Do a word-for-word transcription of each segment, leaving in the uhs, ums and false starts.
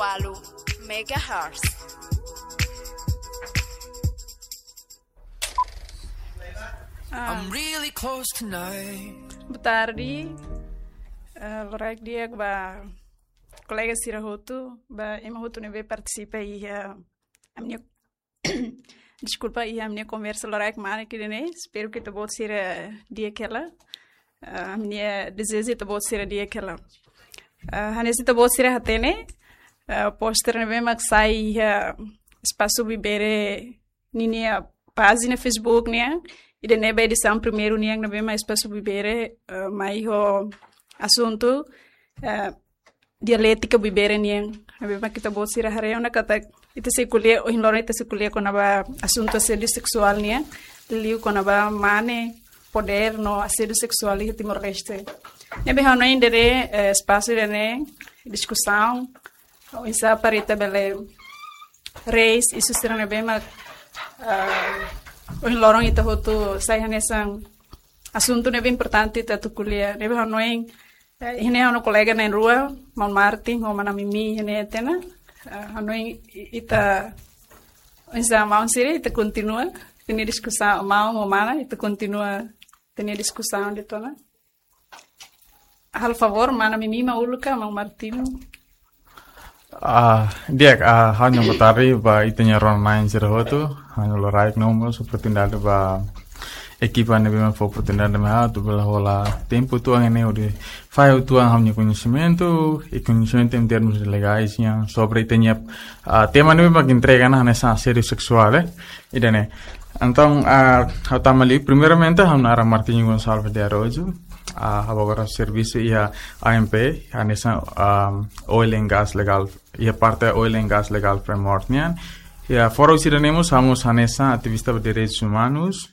walu megahertz. Ah. I'm really close tonight. Boa tarde. Ah, loraik di'ak ba kolega sira hotu, ba ema hotu ne'ebé partisipa iha, ah, ami-nia deskulpa, iha ami-nia konversa loraik mane ida-ne'e. Espera katak ita-boot sira di'ak hela. Ah, ami-nia dezeju ita-boot sira di'ak hela. Ah, hanesan ita-boot sira hatene, ah, poster ne'ebé mak sai iha Espasu Bibere ninia pájina Facebook nian, ida-ne'e ba edisaun primeiru nian ne'ebé mak Espasu Bibere, ah, mai ho asuntu, ah, dialétika Bibere nian. Ne'ebé mak ita-boot sira haree ona katak ita sei ko'alia, ohin loron ita sei ko'alia kona-ba asuntu asédiu seksuál nian, liu kona-ba mane, podér no asédiu seksuál iha Timor-Leste. Ne'ebé ha'u hanoin ida-ne'e, eh, espasu ida-ne'e, diskusaun, oinsá para ita bele raise isu sira ne'ebé mak, eh, ohin loron ita hotu sai hanesan asuntu ne'ebé importante ita atu ko'alia. Ne'ebé ha'u hanoin, eh, iha ne'e ha'u-nia kolega na'in-rua, Maun Martin ho Mana Mimi iha ne'e tiha ona. Eh, ha'u hanoin i-, ita, oinsá maun sira, ita kontinua ita-nia diskusaun, maun ho mana, ita kontinua ita-nia diskusaun de'it ona. Halo favór, Mana Mimi mak uluk ka, Maun Martin? Ah, di'ak, ah, ha'u-nia boa tarde ba ita-nia rona-na'in sira hotu. Ha'u-nia loraik no mós oportunidade ba ekipa ne'ebé mak fó oportunidade mai ha'u atu bele hola tempu uitoan ne'e hodi fahe uitoan ha'u-nia koñesimentu, i koñesimentu em termos legais nian sobre ita-nia, ah, tema ne'ebé mak entrega ona hanesan asédiu seksuál, eh. Ida-ne'e. Entaun, ah, ha'u tama liu, primeiramente, ha'u naran Martinho Gonçalves de Araújo, ah, ha'u agora servisu iha A M P, hanesan, ah, Oil and Gas Legal, iha parte Oil and Gas Legal Framework nian. I fora husi ida-ne'e mós, ha'u mós hanesan ativista ba direitus umanus,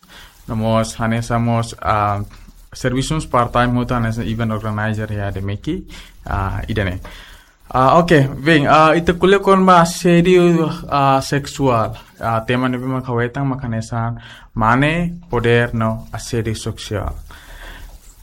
no mós hanesan mós, ah, servisu part-time hotu hanesan event organizer iha ADMECI, ah, ida-ne'e. Ah, oke, bem, ah, ita ko'alia kona-ba asédiu, ah, seksuál. Ah, tema ne'ebé mak ha'u hetan mak hanesan mane, podér no asédiu seksuál.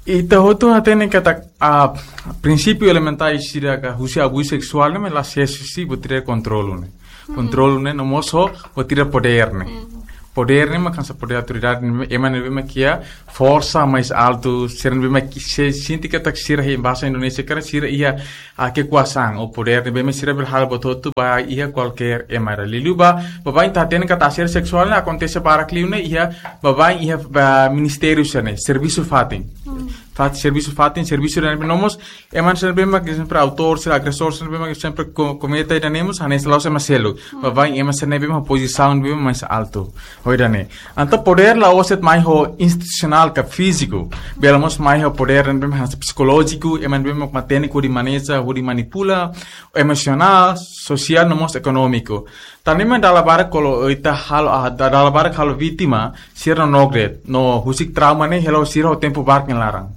Ita hotu hatene katak, ah, prinsípiu elementál sira ka husi abuzu seksuál ne'e mak la ses husi buat ida kontrolu ne'e. Kontrolu ne'e no mós ho buat ida podér ne'e. Podér ne'e mak hanesan podér autoridade ne'e, ema ne'ebé mak iha forsa mais altu, sira ne'ebé mak se-, sente katak sira iha bahasa Indonesia karik sira iha, ah, kekuasaan ou podér ne'ebé mak sira bele halo buat hotu ba iha kualkér ema. Liuliu ba, baibain ita hatene katak asédiu seksuál ne'e akontese barak liu ne'e iha, baibain iha, ba, ministériu sira-ne'e, servisu fatin. Fat-, servisu fatin, servisu ne'ebé no mós ema sira ne'ebé mak sempre autór, sira agresór, sira ne'ebé mak sempre ko-, komete ida-ne'e mós hanesan la'ós ema seluk. Baibain ema sira ne'ebé mak pozisaun ne'ebé mak mais altu. Ho ida-ne'e. Entaun podér la'ós de'it mai ho institusionál ka fíziku. Bele mós mai ho podér ne'ebé mak hanesan psikolójiku, ema ne'ebé mak matenek hodi maneja, hodi manipula, emosionál, sosiál, no mós ekonómiku. Tan ne'e mak dala barak kuandu ita halo, ah, da-, dala barak halo vítima, sira nonook de'it, no husik trauma ne'e hela ho sira ho tempu barak nia laran.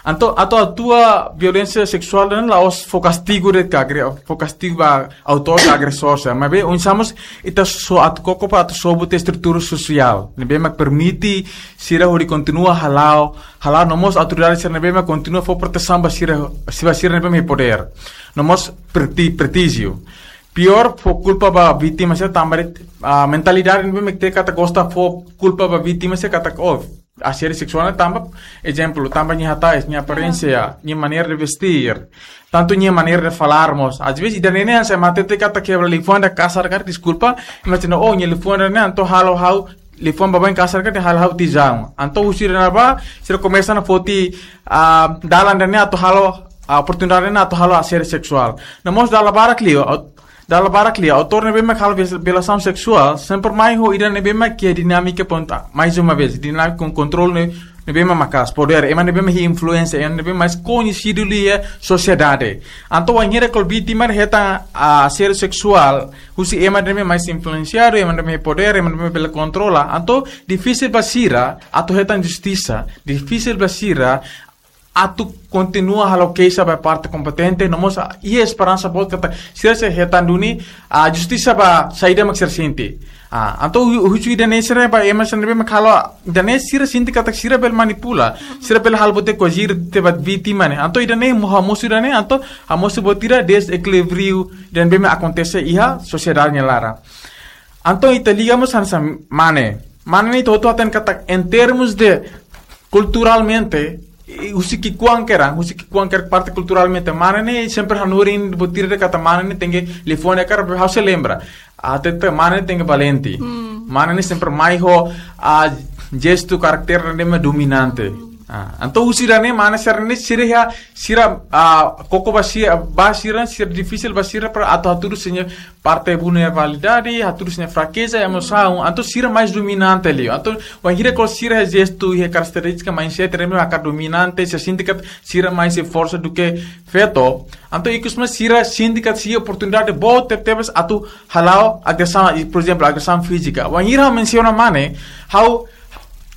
Entaun, atu atua violénsia seksuál ne'e la'ós fó kastigu de'it ka agre-, fó kastigu ba autór ka agresór sira. Maibé, oinsá mós ita só atu koko para atu sobu tiha estrutura sosiál ne'ebé mak permite sira hodi kontinua hala'o, hala'o no mós autoridade sira ne'ebé mak kontinua fó protesaun ba sira, ba sira ne'ebé mak iha podér. No mós preti-, prestíjiu. Piór, fó kulpa ba vítima sira tanba de'it, ah, mentalidade ne'ebé mak ita katak gosta fó kulpa ba vítima sira katak, oh, asédiu seksuál ne'e tanba, ezemplu, tanba nia hatais, nia aparénsia, nia maneira de vestir, tantu nia maneira de falar mós. Às vezes, ida-ne'e ne'e hanesan ema hatete katak kebra liafuan ida kasar karik, deskulpa, imajina, oh, nia liafuan ida-ne'e entaun halo ha'u, liafuan baibain kasar karik halo ha'u tiha ona. Entaun husi ida-ne'ebá, sira komesa ona foti, ah, dalan ida-ne'e atu halo, ah, oportunidade ida-ne'e atu halo asédiu seksuál. No mós dala barak liu, au-, dala barak liu, autór ne'ebé mak halo viol-, violasaun seksuál, sempre mai ho ida ne'ebé mak iha dinámika ponta. Mais uma vez, dinámika kon-, kontrolu ne'e, ne'ebé mak maka'as, podér, ema ne'ebé mak iha influénsia, ema ne'ebé mak mais koñesidu liu iha sosiedade. Entaun, wainhira kuandu vítima hetan, ah, asédiu seksuál, husi ema ne'ebé mais influensiadu, ema ne'ebé iha podér, ema ne'ebé bele kontrola. Entaun, difisil ba sira atu hetan justisa, difisil ba sira atu kontinua halo keixa ba parte kompetente, no mós iha esperansa boot katak sira sei hetan duni, ah, justisa ba saida mak sira sente. Ah, entaun hu-, husi ida-ne'e sira ba ema sira ne'ebé mak halo, ida-ne'e sira sente katak sira bele manipula, sira bele halo buat ida koaji tiha ba vítima ne'e. Entaun ida-ne'e mo hamosu ida-ne'e, entaun hamosu buat ida dezekilíbriu ida ne'ebé mak akontese iha sosiedade nia laran. Entaun ita liga mós hanesan mane. Mane ne'e ita hotu hatene katak em termos de kulturalmente, i husi ki'ikoan kedan, husi ki'ikoan kedan parte kulturalmente. Mane ne'e sempre hanorin buat ida katak mane ne'e tenke liafuan ne'e karik ha'u sei lembra. Hatete mane ne'e tenke valente. Mane ne'e sempre mai ho, ah, jestu karakter ne'ebé mak dominante. Ah, entaun husi ida-ne'e mane sira ne'e sira iha, sira, ah, koko ba sira, ba sira, sira difisil ba sira para atu hatudu sira-nia parte vulnerabilidade, hatudu sira-nia frakeza, emosaun, entaun sira mais dominante liu. Entaun wainhira kuandu sira iha jestu, iha karakterístika mindset ne'ebé mak dominante, sira sente katak sira mais iha forsa duké feto. Entaun ikus mós sira sente katak sira iha oportunidade boot tebetebes atu hala'o agresaun, i, por ezemplu, agresaun fízika. Wainhira mensiona mane, ha'u,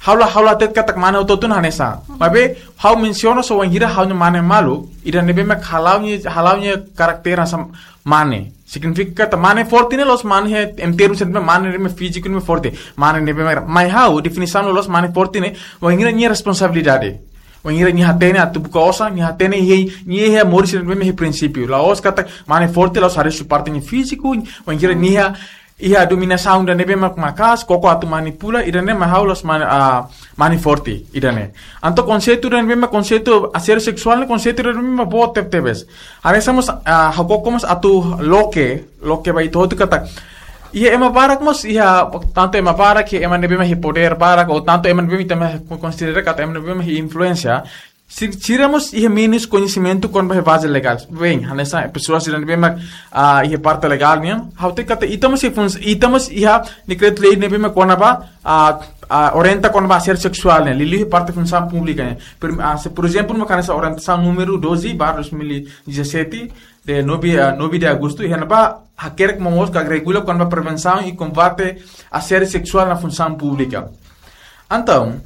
ha'u la, ha'u la hatete katak mane hotu-hotu hanesan. Maibé ha'u mensiona só wainhira ha'u-nia mane malu, ida ne'ebé mak hala'o nia, hala'o nia karakter hanesan mane. Signifika katak mane forte ne'e la'ós mane iha em termos de mane ne'ebé mak fíziku ne'ebé mak forte. Mane ne'ebé mak, mai ha'u definisaun loloos mane forte ne'e, wainhira nia responsabilidade. Wainhira nia hatene atu buka osan, nia hatene iha, nia iha moris ne'ebé mak iha prinsípiu. La'ós katak mane forte la'ós haree husi parte nia fíziku, wainhira nia iha, iha dominasaun ida ne'ebé mak maka'as, koko atu manipula, ida-ne'e mai ha'u la'ós mane, ah, mane forte, ida-ne'e. Entaun konseitu ida ne'ebé mak konseitu asédiu seksuál ne'e konseitu ida ne'ebé mak boot tebetebes. Hanesan mós, ah, ha'u koko mós atu loke, loke ba ita hotu katak iha ema barak mós, iha tantu ema barak, iha ema ne'ebé mak iha podér barak, ou tantu ema ne'ebé mak ita mak konsidera katak ema ne'ebé mak iha influénsia. Si-, sira mós iha menus koñesimentu kona-ba iha baze legál. Bem, hanesan pesoas sira ne'ebé mak, ah, iha parte legál nian. Ha'u hatete katak ita mós iha funs-, ita mós iha dekretu-lei ne'ebé mak kona-ba, ah, ah, orienta kona-ba asédiu seksuál nian. Liuliu iha parte funsaun públika nian. Prim-, ah, se, por ezemplu, mak hanesan orientasaun númeru doze barra dois mil e dezassete, de nove, ah, nove de agosto, iha ne'ebá hakerek momoos ka regula kona-ba prevensaun i kombate asédiu seksuál iha funsaun públika. Entaun,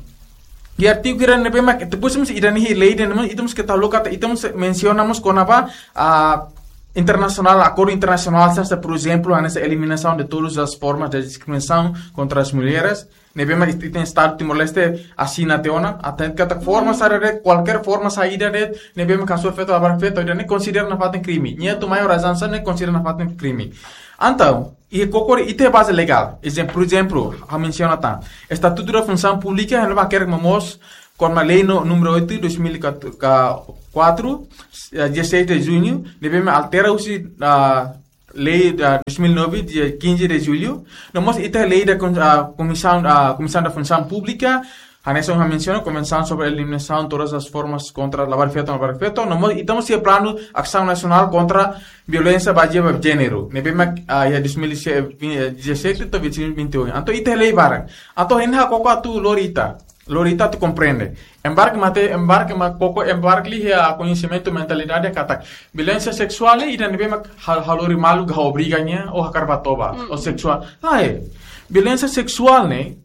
iha artigu ida ne'ebé mak, depois mós ida-ne'e iha lei ida ne'ebé, ita mós keta haluha katak, ita mós mensiona mós kona-ba, ah, internasionál, akordu internasionál, hanesan, por ezemplu, hanesan eliminasaun de todas as formas de diskriminasaun kontra as mulheres, ne'ebé mak ita-nia Estadu Timor-Leste asina tiha ona, hatete katak forma saida de'it, kualkér forma saida de'it, ne'ebé mak hasoru feto, labarik feto, ida-ne'e konsidera nafatin krime. Nia atu mai ho razaun sá ne'e konsidera nafatin krime. Entaun, iha koko ida iha baze legál. Ezem-, por ezemplu, ha'u mensiona tan. Estatutu da Funsaun Públika, iha ne'ebá hakerek momoos, kona-ba lei no, númeru oito, dois mil e quatro, eh, dezasseis de junho, ne'ebé mak altera husi, ah, lei da dois mil e nove, dia quinze de julho. No mós ita lei da kon-, ah, Komisaun, ah, Komisaun da Funsaun Públika, hanesan ha'u mensiona, Konvensaun sobre Eliminasaun Todas as Formas kontra Labarik Feto, Labarik Feto. No mós ita mós iha planu asaun nasionál kontra violénsia bazeia ba jéneru. Ne'ebé mak, ah, iha dois mil e dezassete to'o dois mil e vinte e um. Entaun ita lei barak. Entaun ha'u koko atu lori ita. Lori ita atu komprende. Ema barak mak hatete, ema barak mak koko, ema barak liu iha koñesimentu mentalidade katak violénsia seksuál ne'e ida ne'ebé mak ha-, halo lori malu ka obriga nia ou hakarak ba toba, ou seksuál. Lae. Violénsia seksuál ne'e,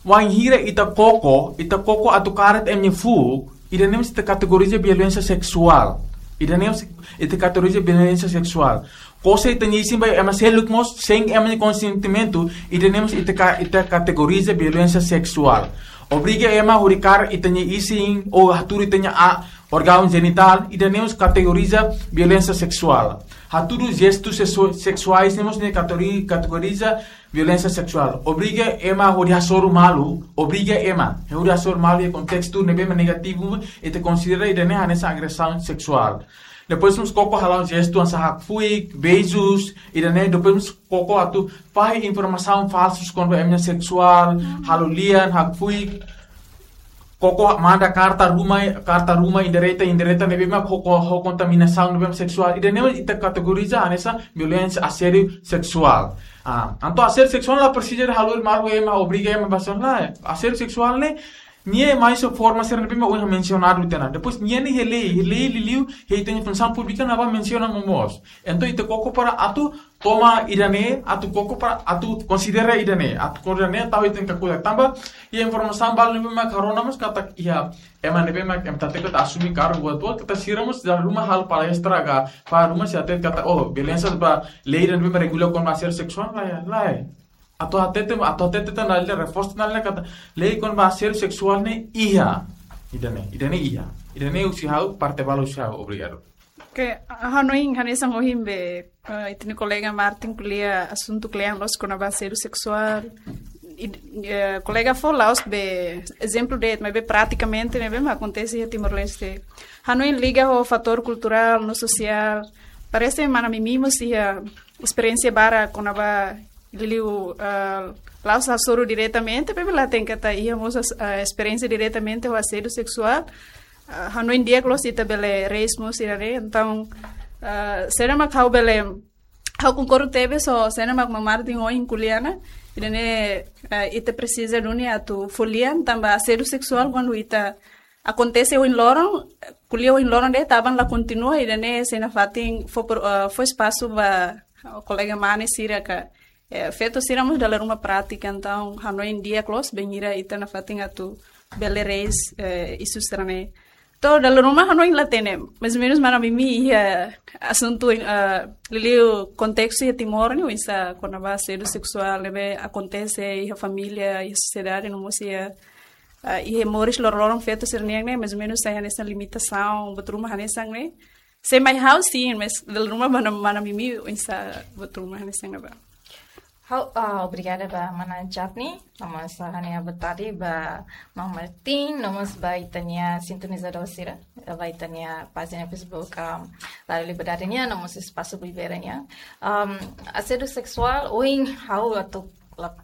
wainhira ita koko, ita koko atu kaer ema nia fuuk, ida-ne'e mós ita kategoriza violénsia seksuál. Ida-ne'e mós ita kategoriza violénsia seksuál. Kosa ita-nia isin ba ema seluk mós, sein ema nia konsentimentu, ida-ne'e mós ita ka-, ita kategoriza violénsia seksuál. Obriga ema hodi kaer ita-nia isin, ou hatudu ita-nia a-, órgaun jenitál, ida-ne'e mós kategoriza violénsia seksuál. Hatudu jestu seksu-, seksuais ne'e mós ne'e kategori-, kategoriza violénsia seksuál. Obriga ema hodi hasoru malu, obriga ema hodi hasoru malu iha kontestu ne'ebé mak negativu, ita konsidera ida-ne'e hanesan agresaun seksuál. Depois mós koko hala'o jestu hanesan hakfuik, beijos, ida-ne'e, depois mós koko atu fahe informasaun falsus kona-ba ema nia seksuál, halo lian, hakfuik, koko manda karta ruma, karta ruma indireta, indireta ne'ebé mak ho, ho, ho kontaminasaun ne'ebé mak seksuál. Ida-ne'e ita kategoriza hanesan violénsia asédiu seksuál. Ah, entaun asédiu seksuál la presiza halo malu ema, obriga ema ba asaun, lae. Asédiu seksuál ne'e, nia mai husi forma sira ne'ebé mak ohin mensionadu tiha ona. Depois nia ne'e iha lei, iha lei liuliu, iha ita-nia Funsaun Públika ne'ebá mensiona momoos. Entaun ita koko para atu toma ida-ne'e, atu koko para, atu konsidera ida-ne'e, atu konsidera ida-ne'e, tau ita-nia kakutak. Tanba iha informasaun balu ne'ebé mak rona mós katak iha ema ne'ebé mak ema hatete katak asume kargu atu, katak sira mós dala ruma halo palestra ka, para ruma sira hatete katak, oh, violénsia ba lei ida ne'ebé mak regula kona-ba asédiu seksuál, lae, lae. Atu hatete, atu hatete tan dala ida, reforsa tan dala ida katak lei kona-ba asédiu seksuál ne'e iha. Ida-ne'e, ida-ne'e iha. Ida-ne'e husi ha'u, parte balu husi ha'u, obrigadu. Oke, ha'u hanoin hanesan ohin be, eh, ita-nia kolega Martin ko'alia asuntu kle'an loos kona-ba asédiu seksuál. I, eh, kolega fó la'ós be ezemplu de'it, maibé pratikamente ne'ebé mak akontese iha Timor-Leste. Hanoin liga ho fatór kulturál no sosiál. Parese mana Mimi mós iha esperiénsia barak kona-ba liuliu, eh, la'ós hasoru diretamente, maibé la tenke ta iha mós, eh, esperiénsia diretamente ho asédiu seksuál. Eh, hanoin di'ak loos ita bele raise mós ida-ne'e. Entaun, eh, saida mak ha'u bele, ha'u konkorda tebes ho saida mak mana Martin ohin ko'alia ona. Ida-ne'e, eh, ita presiza duni atu fó lian tanba asédiu seksuál kuandu ita akontese ohin loron, ko'alia ohin loron de'it, taban la kontinua, ida-ne'e sei nafatin fó por, eh, fó espasu ba, eh, kolega mane sira ka, eh, feto sira mós dala ruma pratika, entaun hanoin di'ak loos bainhira ita nafatin atu bele raise, eh, isu sira-ne'e. To'o dala ruma hanoin la hatene, mais ou menus mana Mimi iha asuntu, eh, liuliu kontestu iha Timor ne'e, oinsá kona-ba asédiu seksuál ne'ebé akontese iha família, iha sosiedade, no mós iha, eh, iha moris loroloron feto sira-nian ne'e, mais ou menus sai hanesan limitasaun, buat ruma hanesan ne'e. Se mai ha'u sin, mais dala ruma mana, mana Mimi oinsá buat ruma hanesan ne'ebá. Ha'u, ah, obrigada ba mana Japni, no mós ha'u-nia boa tarde ba mana Martin, no mós ba ita-nia sintonizadór sira, ba ita-nia pájina Facebook, um, Rádio Liberdade nian, no mós Espasu Primavera nian. Um, asédiu seksuál, ohin ha'u atu la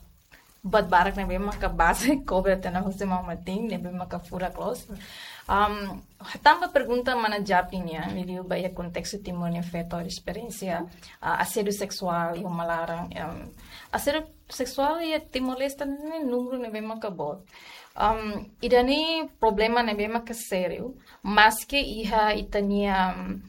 buat barak ne'ebé maka base kobre tiha ona husi mana Martin, ne'ebé maka furak loos. Um, tanba pergunta mana Japni nian, liuliu ba iha kontestu Timor nia feto esperiénsia, ah, asédiu seksuál iha uma laran, um, asédiu seksuál iha Timor-Leste ne'e númeru ne'ebé maka boot. Um, ida-ne'e problema ne'ebé maka sériu, maske iha ita-nia, um,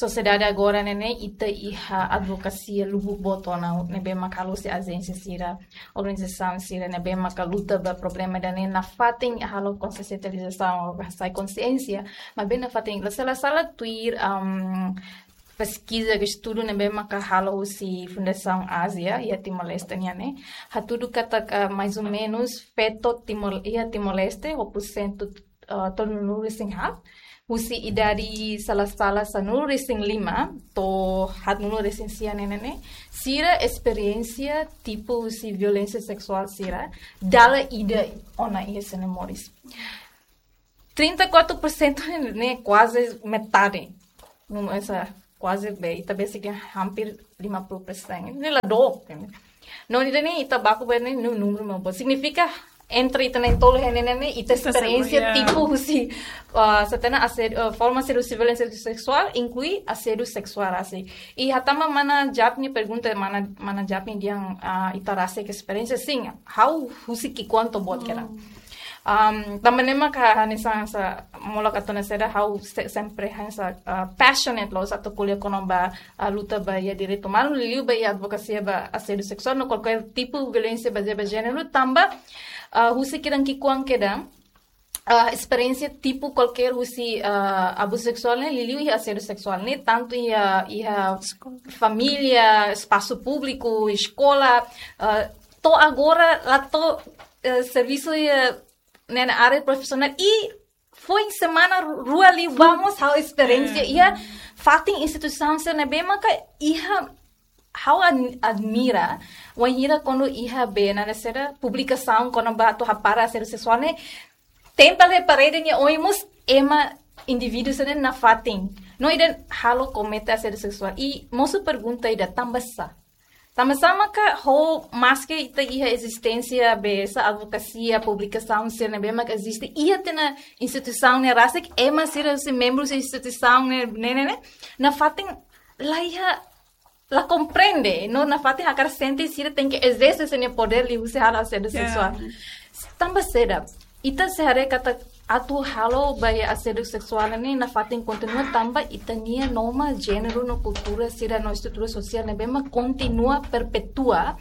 sosiedade agora ne'e ne'e, ita iha advokasia lubuk boot ona ne'ebé maka halo husi ajénsia sira, organizasaun sira ne'ebé maka luta ba problema ida-ne'e nafatin halo konsiensializasaun, hasai konsiénsia, maibé nafatin la sala-sala tuir, um, peskiza ka estudu ne'ebé maka halo husi Fundasaun Ázia iha Timor-Leste nian ne'e, hatudu katak, ah, mais ou menus feto Timor, iha Timor-Leste, ho porsentu, ah, tolunulu-resin-haat, husi idade sala-sala sanulu-resin-lima to'o haatnulu-resin-sia ne'e ne'e, sira esperiénsia tipu husi violénsia seksuál sira dala ida ona iha sira-nia moris. Trinta e quatro por cento ne'e, ne'e kuaze metade. Num, esa kuaze be, ita besik hampir lima puluh persen. Ne'e la dook, ne'e. No, ida-ne'e ita baku be ne'e, nu-, númeru mak boot. Signifika entre ita na'in-tolu ne'e ne'e, ita esperiénsia, ya, tipu husi, ah, sá tiha ona asédiu, ah, forma asédiu husi violénsia seksuál, inklui asédiu seksuál rasik. I hatama mana Japni pergunta, mana, mana Japni dehan, ah, ita rasik esperiénsia, sin, ha'u husi ki'ikoan to'o buat kedas. Um, tanba ne'e maka hanesan sá, molok atu hatene saida, ha'u se-, sempre hanesan, ah, passionate loos atu ko'alia kona-ba, ah, luta ba iha direitu umanu, liuliu ba iha advokasia ba asédiu seksuál, no kualkér tipu violénsia bazeia ba jéneru, tanba, ah, husi ki'ikoan kedas, ah, esperiénsia tipu kualkér husi, ah, abuzu seksuál ne'e, liuliu iha asédiu seksuál ne'e, tantu iha, iha família, espasu públiku, eskola, ah, to'o agora la to'o, eh, servisu iha ne'e área profisionál i foin semana rua liu ba mós ha'u esperiénsia iha fatin instituisaun sira ne'ebé maka iha ha'u ad-, admira, wainhira kuandu iha be ne'e saida publikasaun kona-ba atu hapara asédiu seksuál ne'e, tempel iha parede nia oin mós ema indivíduu sira-ne'e nafatin. No ida halo komete asédiu seksuál. I mosu pergunta ida tanba sá. Tanba sá maka ho maske ita iha ezisténsia be sá advokasia, publikasaun sira ne'ebé maka eziste iha tiha ona instituisaun ne'e rasik, ema sira husi membru husi instituisaun ne'e, ne'e, ne'e, ne'e, nafatin la iha, la komprende, no nafatin hakarak sente sira tenke ezerse sira-nia podér liuhusi halo asédiu, ya, seksuál. Tanba saida, ita sei haree katak atu halo ba iha asédiu seksuál ne'e nafatin kontinua tanba ita-nia norma jéneru no kultura sira no estrutura sosiál ne'ebé mak kontinua perpetua,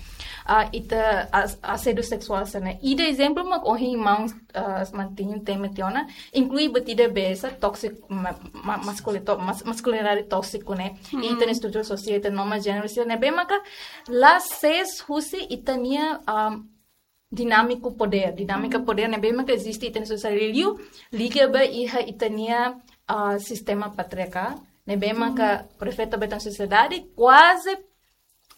ah, ita as-, asédiu seksuál sira-ne'e. Ida ezemplu mak ohin maun, ah, Martinho temi tiha ona, inklui buat ida besar tóksiku, ma-, ma-, maskulin-, tó-, mas-, maskulinidade tóksiku ne'e. I ita-nia estrutura sosiál, ita-nia norma jéneru sira ne'ebé maka la sees husi ita-nia, ah, dinámika podér, dinámika podér ne'ebé maka eziste ita-nia sosiedade liu, liga ba iha ita-nia, ah, sistema patriarkál, ne'ebé maka refleta ba ita-nia sosiedade, kuaze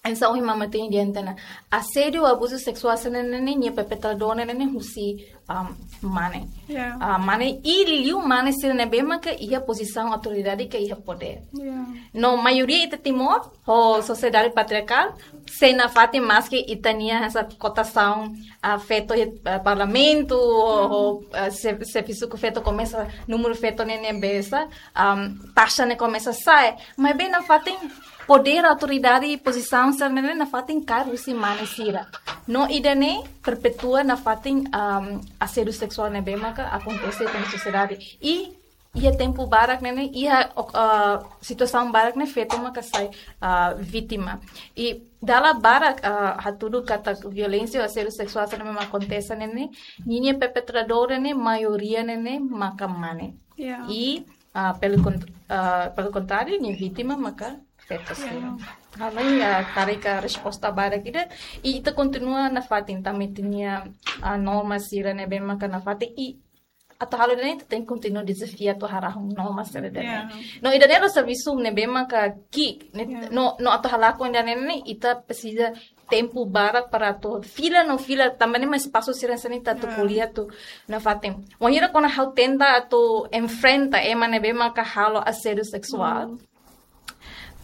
hanesan ohin maun Martinho dehan tiha ona, asédiu, abuzu seksuál sira-ne'e, nia perpetradór ne'e husi, um, mane. Yeah. Ah, mane i liuliu mane sira ne'ebé maka iha pozisaun autoridade ka iha podér. Yeah. No maioria ita Timor, ho sosiedade patriarkál, sei nafatin maski ita-nia hanesan kotasaun, ah, feto iha, ah, parlamentu, ho, ho, ah, se, servisu ku feto komesa, númeru feto ne'e, ne'e besar, um, taxa ne'e komesa sa'e. Maibé nafatin podér, autoridade i pozisaun sira-ne'e nafatin kaer husi mane sira. No ida-ne'e perpetua nafatin, um, asédiu seksuál ne'ebé maka akontese iha sosiedade. I iha tempu barak ne'e, iha, ah, situasaun barak ne'e feto maka sai, ah, vítima. I dala barak, ah, hatudu katak violénsia ou asédiu seksuál sira ne'ebé mak akontese ne'e, ninia perpetradór ne'e maioria ne'e maka mane. Yeah. I, ah, pelo kont-, ah, pelo contrário, nia vítima maka feto sira. Yeah. Ha'u hanoin, ah, karik resposta badak ida, i ita kontinua nafatin tanba ita-nia, ah, norma sira ne'ebé maka nafatin i atu halo ida-ne'e ita tenke kontinua dezafia atu harahun norma sira ida-ne'e. Yeah. No ida-ne'e la'ós servisu ne'ebé maka ki'ik, ne'e, yeah, no, no atu halakon ida-ne'e ne'e ita presiza tempu barak para atu fila no fila tanba ne'e mak espasu sira hanesan ne'e ita atu, yeah, ko'alia atu nafatin. Wainhira kona ha'u tenta atu enfrenta ema ne'ebé maka halo asédiu seksuál. Mm.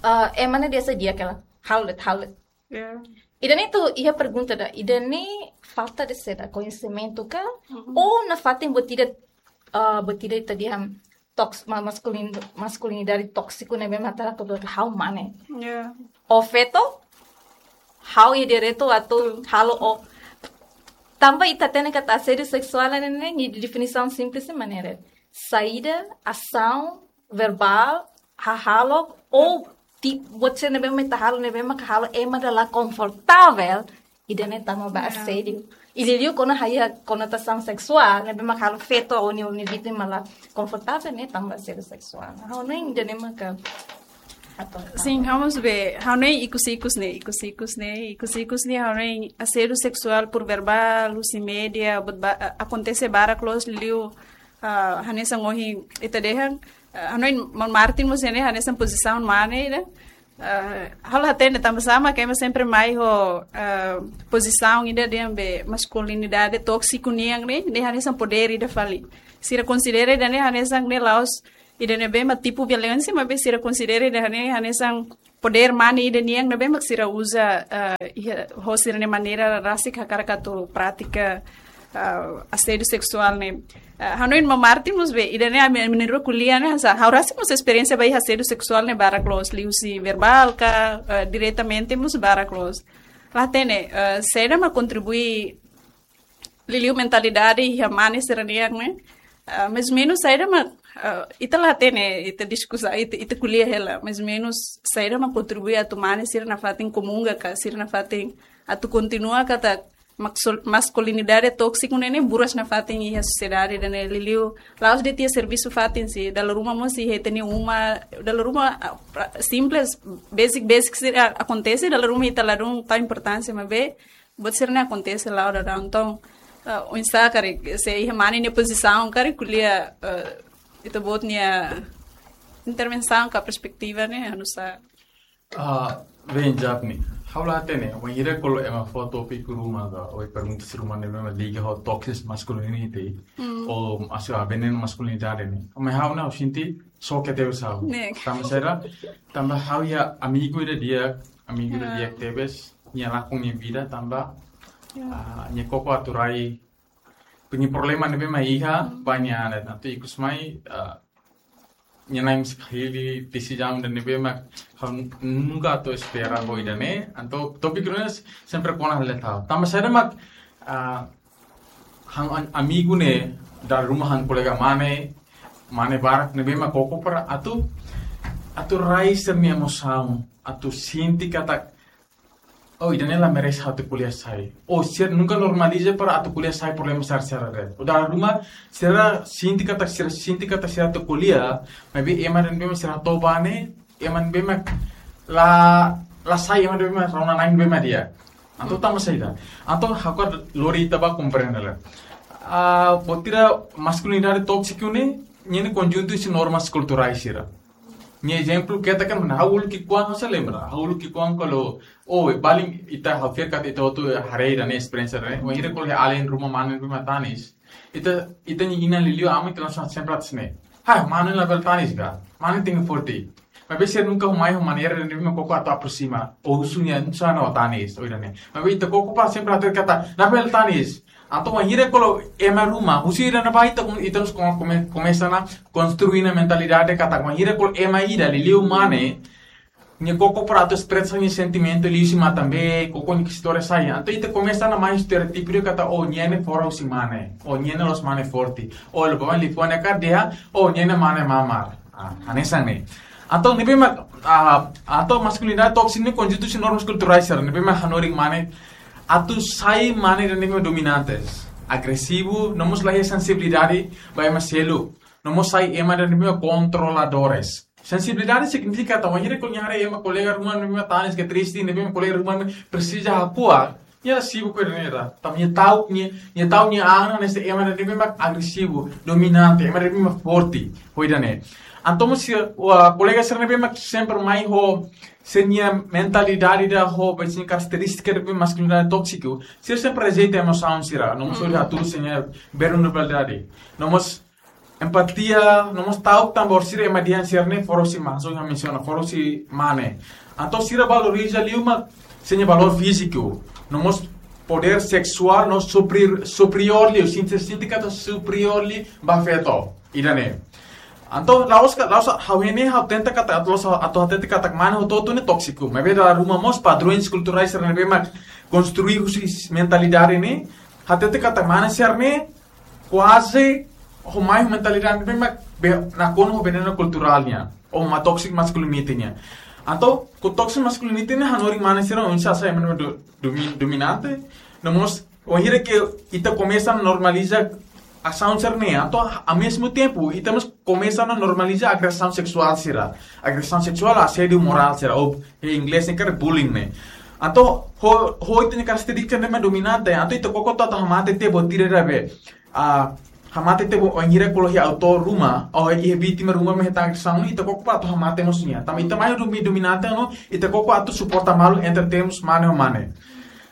Ah, ema ne'e dehan saida kela? Halo de'it, halo de'it. Yeah. Ida-ne'e atu iha pergunta ida, ida-ne'e falta de saida, koñesimentu ka? Mm-hmm. Ou nafatin buat ida, ah, buat ida ita dehan toks-, ma-, maskulin-, maskulinidade tóksiku ne'ebé mak ita hatene katak ha'u mane. Yeah. Ou feto, ha'u iha direitu atu, betul, halo ou. Tanba ita hatene katak asédiu seksuál ne'e, ne'e, nia definisaun simples ne'e maneira saida, asaun verbál, hahalok, ou ti-, buat sira ne'ebé mak ita halo, ne'ebé maka halo ema ida la konfortavel, ida-ne'e tama ba, yeah, asédiu. I liuliu kona iha konotasaun seksuál, ne'ebé maka halo feto ou nia, nia vítima la konfortavel, ne'e tama ba asédiu seksuál. Ha'u hanoin ida-ne'e maka atu. Sin, ha'u mós be, ha'u hanoin ikus-ikus ne'e, ikus-ikus ne'e, ikus-ikus ne'e, ha'u hanoin asédiu seksuál por verbál, husi média, buat ba-, a-, akontese barak loos liu, ah, hanesan ohin ita dehan, ah, ha'u hanoin maun Martin mós ne'e hanesan pozisaun mane ida. Ah, ha'u la hatene tanba sá mak ema sempre mai ho, ah, pozisaun ida dehan be maskulinidade tóksiku nian ne'e, ne'e hanesan podér ida fali. Sira konsidera ida-ne'e hanesan ne'e la'ós ida ne'ebé mak tipu violénsia, maibé sira konsidera ida-ne'e hanesan podér mane ida nian ne'ebé mak sira uza, ah, iha, ho sira-nia maneira rasik hakarak atu pratika, ah, asédiu seksuál ne'e. Ah, ha'u hanoin maun Martin mós be, ida-ne'e ami, ami na'in-rua ko'alia ne'e, hanesan, ha'u rasik mós esperiénsia ba iha asédiu seksuál ne'e barak loos, liuhusi verbál ka, ah, diretamente mós barak loos. La hatene, ah, saida mak kontribui liuliu mentalidade iha mane sira-nian ne'e. Ah, mais ou menus saida mak, ah, ita la hatene, ita diskusa, ita, ita ko'alia hela, mais ou menus saida mak kontribui atu mane sira nafatin komunga ka, sira nafatin atu kontinua katak maksul-, maskulinidade tóksiku ne'e, ne'e buras nafatin iha sosiedade ida-ne'e liuliu. La'ós de'it iha servisu fatin sih, dala ruma mós iha ita-nia uma, dala ruma, ah, pra-, simples, basic, basic sira akontese, dala ruma ita ladún tau importánsia, maibé buat sira-ne'e akontese la'o daudaun. Entaun, ah, oinsá karik, se iha mane nia pozisaun, karik ko'alia, ah, ita-boot nia intervensaun ka perspetiva ne'e, oinsá? Ah, bem, Japni. Ha'u la hatene, wainhira ko'alia ema fó tópiku ruma ka, ou pergunta sira ruma ne'ebé mak liga ho toxic masculinity, mm, ou asu a venenu maskulinidade ne'e. Maibé ha'u ne'e, ha'u sente, só ke teu sal. Ne'e. Tanba sira, tanba ha'u iha amigu ida di'ak, amigu ida, ah, di'ak tebes, nia lakon nia vida tanba, ya, ah, nia koko atu rai, nia problema ne'ebé mak iha, hmm, ba nia anet. Entaun ikus mai, ah, nia na'in mós hili desizaun ida ne'ebé mak ha'u nunka atu espera, hmm, ho ida-ne'e. Entaun tópiku ne'e sempre kona hela ha'u. Tanba saida mak, ah, ha'u-nia am-, amigu ne'e, dala ruma ha'u-nia kolega mane, mane barak ne'ebé mak koko para atu, atu rai sira-nia emosaun, atu sente katak, oh, ida-ne'e la merese atu ko'alia sai. Oh, sira nunka normaliza para atu ko'alia sai problema sira-sira de'it. Ou dala ruma sira sente katak, sira sente katak sira atu ko'alia, maibé ema ida ne'ebé mak sira hato'o ba ne'e, ema ne'ebé mak la, la sai, ema ne'ebé mak rona na'in ne'ebé mak di'ak. Entaun tanba saida? Entaun ha'u hakarak lori ita ba komprende lai. Ah, buat ida maskulinidade tóksiku ne'e, nia ne'e konjuntu husi normas kulturais sira. Nia ezemplu ketak kan, ha'u uluk ki'ikoan, ha'u sei lembra. Ha'u uluk ki'ikoan kalau, oh, balu ita, ha'u fiar katak ita hotu haree ida-ne'e, esperiénsia ida-ne'e. Wainhira kalau iha alin ruma mane ne'ebé mak tanis, ita, ita-nia inan liuliu aman ita langsung sempre atas ne'e. Ha, mane labele tanis ka? Mane tenke forte. Maibé sira nunka mai ho maneira ne'ebé mak koko atu aproxima. Ou husu nia, "Nusá ne'e ó tanis?" Ou ida-ne'e. Maibé ita koko para sempre hatete katak, "Labele tanis." Entaun wainhira kalau ema ruma, husi ida-ne'ebá ita, ita mós kome-, kome-, komesa ona konstrui nia mentalidade katak wainhira kalau ema ida liuliu mane, nia koko para atu espresa nia sentimentu liuhusi matan-been, koko nia istória saida. Entaun ita komesa ona mai estereótipu katak, oh, nia ne'e fora husi mane, oh, nia ne'e la'ós mane forte, oh, lubang liu fone ka dia, oh, nia ne'e mane mamar. Ah, hanesan ne'e. Entaun ne'ebé mak, ah, entaun maskulinidade tóksiku ne'e konjuntu husi normas kulturais sira ne'ebé mak hanorin mane atu sai mane ida ne'ebé mak dominante, agresivu, no mós la iha sensibilidade ba ema seluk, no mós sai ema ida ne'ebé mak kontroladores. Sensibilidade signifika katak wainhira kalau nia haree ema kolega ruma ne'ebé mak tanis ka triste, ne'ebé mak kolega ruma ne'e presiza hakuak, nia la sibuk ho ida-ne'e ida. Tanba nia ta'uk nia, nia ta'uk nia an hanesan ema ida ne'ebé mak agresivu, dominante, ema ida ne'ebé mak forte, ho ida-ne'e. Entaun mós sira, ah, kolega sira ne'ebé mak sempre mai ho sira-nia mentalidade ida ho, ba sira-nia karakterístika ne'ebé maskulinidade tóksiku, sira sempre rejeita emosaun sira, no mós hatudu sira-nia vulnerabilidade. No mós empatia, no mós ta'uk tan ba orsida ema dehan sira ne'e fora husi mane, hanesan ha'u mensiona, fora husi mane. Entaun sira valoriza liu mak sira-nia valór fíziku, no mós podér seksuál, no supri-, superiór liu, sente, sente katak superiór liu ba feto, ida-ne'e. Entaun la'ós ka, la'ós ha'u hatene, ha'u tenta katak, la'ós ha'u atu hatete katak mane hotu-hotu ne'e tóksiku, maibé dala ruma mós padrões kulturais sira ne'ebé mak konstrui husi mentalidade ne'e, hatete katak mane sira ne'e kuaze ho mai mentalidade ne'ebé mak be-, nakonu ho venenu kulturál nian, ou mak toxic masculinity nian. Entaun, ku toxic masculinity ne'e hanorin mane sira oinsá sai ema ne'ebé do-, domi-, dominante, no mós, wainhira ke ita komesa normaliza asaun sira-ne'e, entaun, ao mesmo tempo, ita mós komesa normaliza agresaun seksuál sira. Agresaun seksuál, asédiu morál sira, ou iha inglés ne'e karik bullying ne'e. Entaun, ho, ho ita-nia karakterístika ne'ebé dominante, entaun ita koko atu hamate tiha buat ida be, ah, hamate tiha buat, wainhira kalau iha autór ruma, ou iha vítima ruma mak hetan agresaun, ita koko atu hamate mós nia. Tanba ita mai domi-, dominante, no, ita koko atu suporta malu entre termus mane ho mane.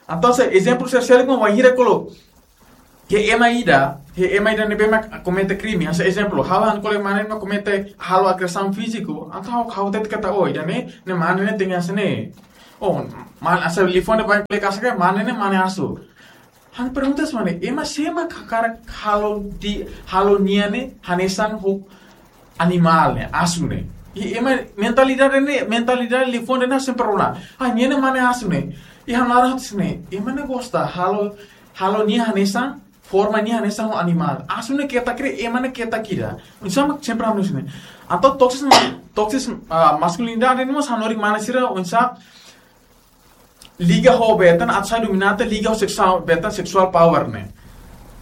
Entaun, se ezemplu sira seluk mak wainhira kalau iha ema ida, iha ema ida ne'ebé mak komete krime. Hanesan ezemplu, ha'u han kolega mane mak komete halo agresaun fíziku. Entaun ha'u, ha'u hatete katak, oh, ida-ne'e, ne'e mane ne'e tenke hanesan ne'e. Oh, mane, hanesan liafuan ida ba kolega sira, mane ne'e mane asu. Han pergunta hanesan ne'e, ema sé mak hakarak halo di-, halo nia ne'e hanesan ho animál ne'e, asu ne'e. I ema mentalidade ne'e, mentalidade liafuan ne'e sempre rona. Ah, nia ne'e mane asu ne'e. I ha'u laran hanesan ne'e, ema ne'e gosta halo, halo nia hanesan, forma nia hanesan ho animál. Asu ne'e ketak ida, ema ne'e ketak ida. Oinsá mak sempre hanesan ne'e. Entaun toxic, toxic, ah, masculinity ne'e mós hanorin mane sira oinsá liga ho bee tan, atu sai dominante liga ho seksuál, bee tan seksual power ne'e.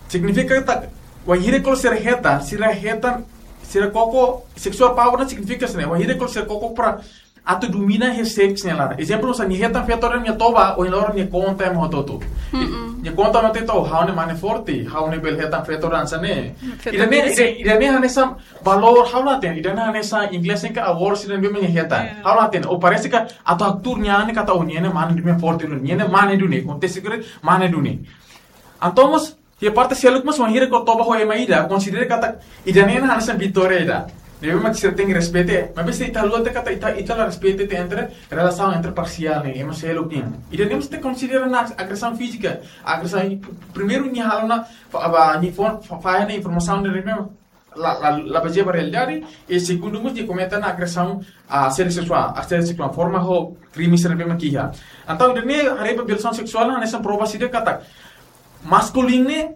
Signifika katak, wainhira kalau sira hetan, sira hetan, sira koko, seksual power ne'e signifika hanesan ne'e, wainhira kalau sira koko para atu domina iha seks nia laran. Ezemplu, hanesan nia hetan feto ida nia toba, ohin loron nia konta ema hotu-hotu. Mm-mm. Nia konta ema hotu-hotu, ha'u ne'e mane forte, ha'u ne'e bele hetan feto ida hanesan ne'e. Feto ida-ne'e, ida, ida-ne'e hanesan valór, ha'u la hatene, ida-ne'e hanesan inglés ne'e ka awards ida ne'ebé mak nia hetan. Yeah. Ha'u la hatene, ou parese katak atu haktuur nia an ne'e katak, oh, nia ne'e mane duni, forte duni, nia ne'e mane duni, konteste kure, mane duni. Entaun mós, iha parte seluk mós wainhira kalau toba ho ema ida, konsidera katak ida-ne'e hanesan vitória ida. Ne'ebé mak sira tenke respeita, maibé se ita haluha tiha katak ita, ita la respeita tiha entre relasaun entre parsiál ne'e, ema seluk nian. Ida-ne'e mós ita konsidera ona agresaun fízika, agresaun primeiru nia halo ona, fa-, ba, nia fó, fa-, fahe ona informasaun ida ne'ebé la, la, la bazeia ba realidade, i segundu mós nia komete ona agresaun, ah, asédiu seksuál, asédiu seksuál, forma ho krime sira ne'ebé mak iha. Entaun, ida-ne'e haree ba violasaun seksuál, hanesan prova ida katak maskulinu ne'e,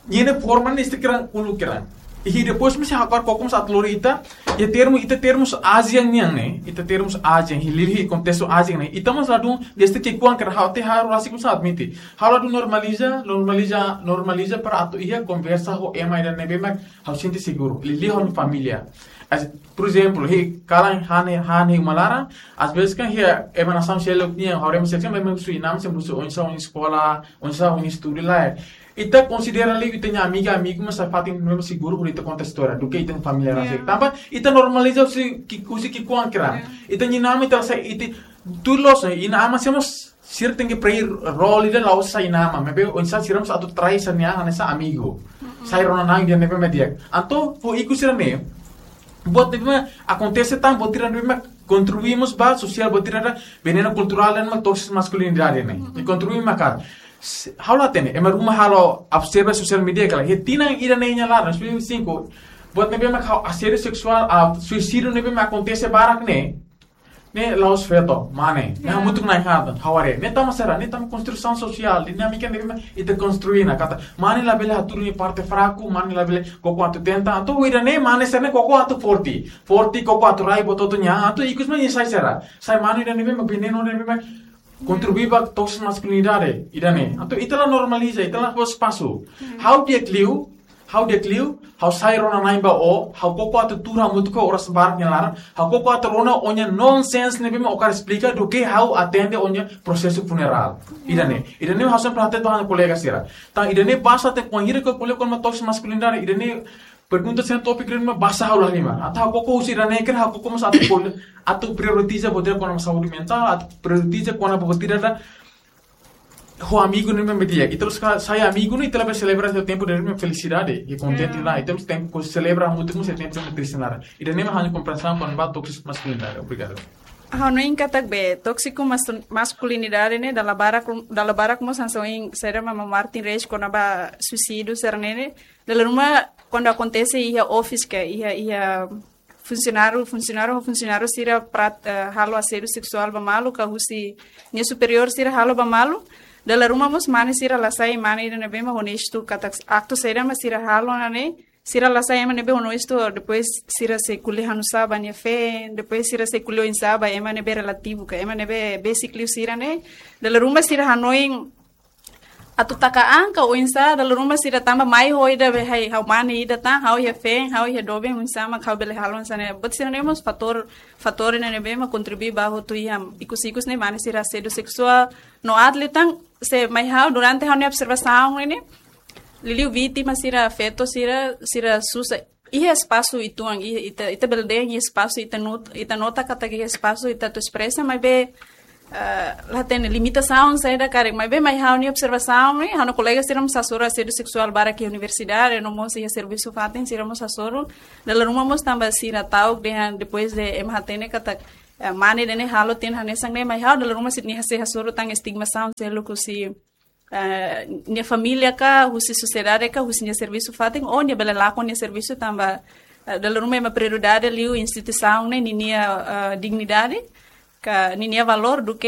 Ninia forma ne'e ita kira ulu kira. I depois mós ha'u hakarak koko mós atu lori ita, iha termu, ita termus ASEAN nian ne'e, ita termus ASEAN, iha liuliu kontextu ASEAN ne'e, ita mós ladún desde ki'ikoan kira, ha'u te ha'u rasik mós admite. Ha'u ladún normaliza, normaliza, normaliza para atu iha konversa ho ema ida ne'ebé mak ha'u sente seguru. Liuliu ho família. As, por ezemplu, iha kalan hane, hane uma laran, às vezes kan iha ema nasaun seluk nian, ha'u rema seksen, ema husu inan-aman, sempre husu oinsá, oinsá eskola, oinsá, oinsá estudu lai. Ita konsidera liu ita-nia amiga, amigu, mas sai fatin ne'ebé mak seguru hodi ita konta istória, duké ita-nia família rasik. Tanba ita normaliza husi ki, husi ki'ikoan kira. Ita-nia inan-aman ita sai, ita tuir loos, inan-aman sira mós, sira tenke play role ida la'ós sai inan-aman, maibé oinsá sira mós atu trai sira-nia an hanesan amigu. Sai rona na'in ida ne'ebé mak di'ak. Entaun, ho ikus sira-ne'e, buat ne'ebé mak akontese tan, buat ida ne'ebé mak kontribui mós ba sosiál, buat ida venenu kulturál ida mak toksik maskulinidade ne'e. I kontribui maka, se, ha'u la hatene, ema ruma halo observa sosiál mídia kala, iha tinan ida-ne'e nia laran, dois mil e vinte e cinco, buat ne'ebé mak halo asédiu seksuál, ah, suisídiu ne'ebé mak akontese barak ne'e, ne'e la'ós feto, mane. Ne'e hamutuk na'in haat, ha'u haree. Ne'e tanba saida, ne'e tanba konstrusaun sosiál, dinámika ne'ebé mak ita konstrui ona, katak mane labele hatudu nia parte fraku, mane labele koko atu tenta, entaun ida-ne'e mane sira-ne'e koko atu forte. Forte, koko atu rai, bototo nia, entaun ikus mós nia sai saida. Sai mane ida ne'ebé mak venenu ida ne'ebé mak kontribui ba toksik maskulinidade, ida-ne'e. Entaun ita la normaliza, ita la fó espasu. Ha'u di'ak liu, ha'u di'ak liu, ha'u sai rona na'in ba ó, ha'u koko atu tuur hamutuk ho oras barak nia laran, ha'u koko atu rona ó-nia nonsense ne'ebé mak ó hakarak esplika duké ha'u atende ó-nia prosesu funerál. Ida-ne'e, ida-ne'e ha'u sempre hatete ba ha'u-nia kolega sira. Tan ida-ne'e basa te kuandu ita ko'alia kona-ba toksik maskulinidade, ida-ne'e pergunta sira tópiku ida ne'ebé mak basa ha'u la halimar. Atu ha'u koko husi ida-ne'e kira ha'u koko mós atu ko'alia, atu prioritiza buat ida kona-ba saúde mentál, atu prioritiza kona-ba buat ida ida ho amigu ne'ebé mak di'ak. Ita terus ka sai amigu ne'e ita labele selebra iha tempu ida ne'ebé mak felisidade, iha kontente lae. Ita mós tenke selebra hamutuk mós iha tempu ida ne'ebé mak triste laran. Ida-ne'e mak ha'u-nia kompreensaun kona-ba toksik maskulinidade. Obrigadu. Ha'u hanoin katak be tóksiku mas-, maskulinidade ne'e dala barak, dala barak mós hanesan ohin saida mak Martin Reis kona-ba suisídiu sira-ne'e ne'e. Dala ruma kuandu akontese iha office ka, iha, iha funsionáriu, funsionáriu, funsionáriu sira prat-, eh, halo asédiu seksuál ba malu, ka husi nia superiór sira halo ba malu. Dala ruma mós mane sira la sai mane ida ne'ebé mak onestu, katak aktu saida mak sira halo ona ne'e, sira la sai ema ne'ebé onestu, depois sira sei ko'alia hanusá ba nia feen, depois sira sei ko'alia oinsá ba ema ne'ebé relativu, ka ema ne'ebé besik liu sira ne'e. Dala ruma sira hanoin atu taka an ka oinsá, dala ruma sira tanba mai ho ida be hai, ha'u mane ida tan, ha'u iha feen, ha'u iha doben, oinsá mak ha'u bele halo hanesan ne'e. Buat sira-ne'e mós fatór, fatór ne'ebé mak kontribui ba hotu iha ikus-ikus ne'e mane sira asédiu seksuál. No aat liután, se mai ha'u durante ha'u-nia observasaun ne'e, liuliu vítima sira, feto sira, sira susar iha espasu uitoan, iha, ita, ita bele dehan iha espasu, ita not-, ita nota katak iha espasu ita atu espresa, maibé, ah, la hatene limitasaun saida karik, maibé mai ha'u-nia observasaun ne'e, ha'u-nia kolega sira mós hasoru asédiu seksuál barak iha universidade, no mós iha servisu fatin sira mós hasoru, dala ruma mós tanba sira ta'uk dehan depois de ema hatene katak, eh, mane ida-ne'e halo tiha hanesan ne'e, mai ha'u dala ruma sira-nia sei hasoru tan estigmasaun seluk husi eh, nia família ka, husi sosiedade ka, husi nia servisu fatin, ou nia bele lakon nia servisu tanba, eh, dala ruma ema prioridade liu instituisaun ne'e, ninia, eh, dignidade, ka ninia valór duké